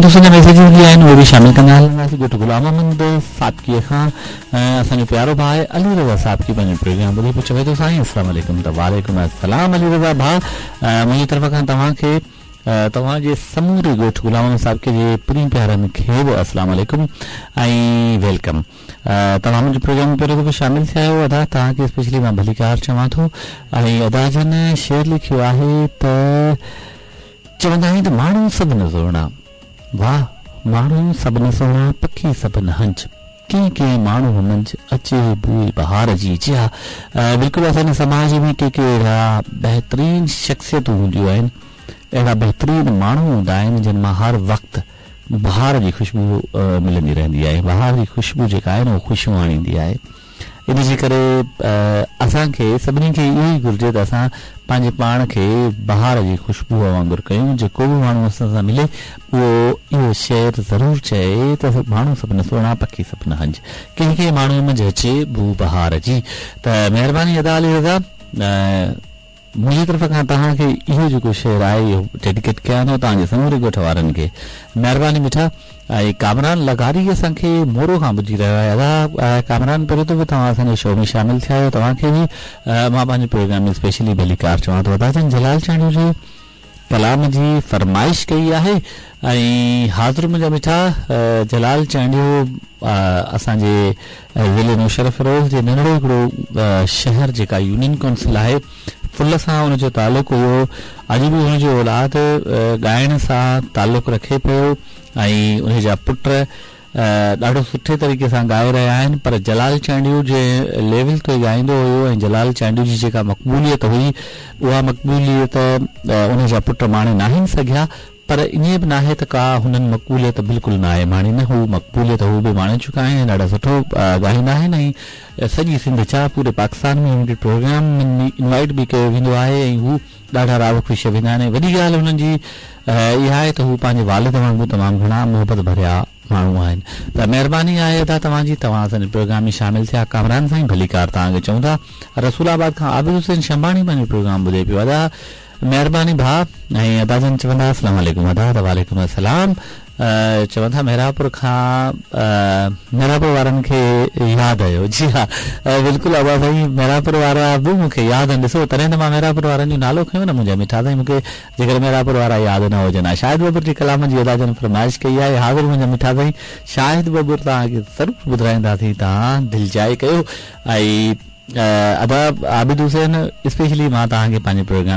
دوستن جا ميسيجز به آهن اهي به شامل ڪندا هلنداسين ڳوٺ غلام محمد سابقي کان اسان جو پيارو ڀاء علي رضا سابقي پنهنجو پروگرام ٻڌي پيو چوي ٿو سائين السلام عليڪم ته وعليڪم السلام علي رضا ڀاء منهنجي طرف کان توهان کي توهان جي سموري ڳوٺ غلام محمد سابقي جي پرين پيارن کي به السلام عليڪم ۽ welcome توهان منهنجي پروگرام ۾ پهريون دفعو شامل ٿيا آهيو ادا توهان کي اسپيشلي مان ڀليڪار چوان ٿو ۽ ادا جن شعر لکيو آهي ته چوندا آهن ته ماڻهو سڀ نه سهڻا واه ماڻهو سڀ نه سهڻا پکي سڀ نه هنج ڪنهن ڪنهن ماڻهوء منجهه اچي بوء بهار جي جي ها بلڪل اسان جي سماج ۾ ڪي ڪي اهڙا بهترين شخصيتون هونديون آهن اهڙا بهترين ماڻهو هوندا آهن جن مان هر وقت بهار جي خوشبو ملندي رهندي آهي بهار جي خوشبو جيڪا آهي نه اها خوشيون آڻيندي آهي ان جي ڪري اسان کي سڀني کي اهو ئي گهرجي ته اسان پنهنجي پاڻ کي بهار جي خوشبوء وانگر ڪيون جيڪو به ماڻهو اسان سان ملي اهو اهو شعر ضرور چئي ته ماڻهو سڀ نه سهڻا پکي سڀ نه هنج ڪنهن ڪنهن ماڻهوء منجهه اچي بوء بهار جي ته مهرباني ادا علي رضا منهنجي طرف کان توهان کي اهو جيڪو شعر آهي اهو ڊيڊيڪيٽ ڪيان ٿو توهان جي سموري ڳوٺ وارن کي مهرباني مٺا ۽ ڪامران لغاري اسان کي مورو کان ٻڌي رهيو آهي ادا ڪامران پهريون دفعو توهان اسان جي شو ۾ شامل ٿيا آهيو توهان کي به مان پنهنجي پروگرام ۾ اسپيشلي ڀليڪار چوان ٿو ادا جن جلال چانڊيو جي ڪلام جي فرمائش ڪئي آهي ۽ حاضر منهنجا مٺا جلال چانڊيو اسان جي ضلعي نوشهروفيروز جي ننڍڙو هڪڙو شهر جيڪا يونين ڪونسل آهي ڦل سان ان جو تعلق هيو اڄ به ان جو اولاد ڳائڻ سان تعلق رکي پيو ۽ ان جا پٽ ڏاڍو سٺي طريقي سان ڳائي رهيا آهن پر جلال چانڊيو جنهن ليول تي ڳائيندو هيو ۽ جلال چانڊيو جي جيڪا مقبوليت هئي اها مقبوليت ان جا پٽ ماڻي ناهن سگهيا پر ائين به ناهي ته ڪا هنن مقبوليت بلڪل ناهي ماڻي نه هو مقبوليت هو به ماڻي چڪا آهن ۽ ڏاڍا سٺو ڳائيندا آهن ۽ سڄي سنڌ ڇا پوري پاڪستان ۾ هنن کي پروگرام ۾ انوائيٽ به ڪيو ويندو آهي ۽ هو ڏاڍا راض خوش ويندا آهن ۽ وڏي ڳالهه هنن جي اها آهي ته هو پنهنجي والد وانگر تمام گهڻا محبت ڀريا ماڻهو آهن ته مهرباني آهي ادا توهان جي توهان اسان جي پروگرام ۾ شامل ٿيا ڪامران سائين ڀليڪار توهان کي چئون ٿا رسول آباد کان عابد حسين شنباڻي پنهنجو پروگرام ٻڌي پيو ادا مهرباني ڀاء ۽ ادا جن چوندا السلام عليڪم ادا ته وعليڪم السلام چون ٿا محرابپور کان محرابپور وارن کي ياد آيو جي ها بلڪل ادا سائين محرابپور وارا به مون کي ياد آهن ڏسو تڏهن ته مان محرابپور وارن جو نالو کنيو نه منهنجا مٺا سائين مون کي جيڪر محرابپور وارا ياد نه هجن ها شاهد ٻٻر جي ڪلام جي ادا جن فرمائش ڪئي آهي حاضر منهنجا مٺا سائين شاهد ٻٻر توهان کي ضرور ٻڌرائينداسين توهان دلجاء ڪيو ۽ ادا عابد حسين اسپيشلي مان توهان کي پنهنجي پروگرام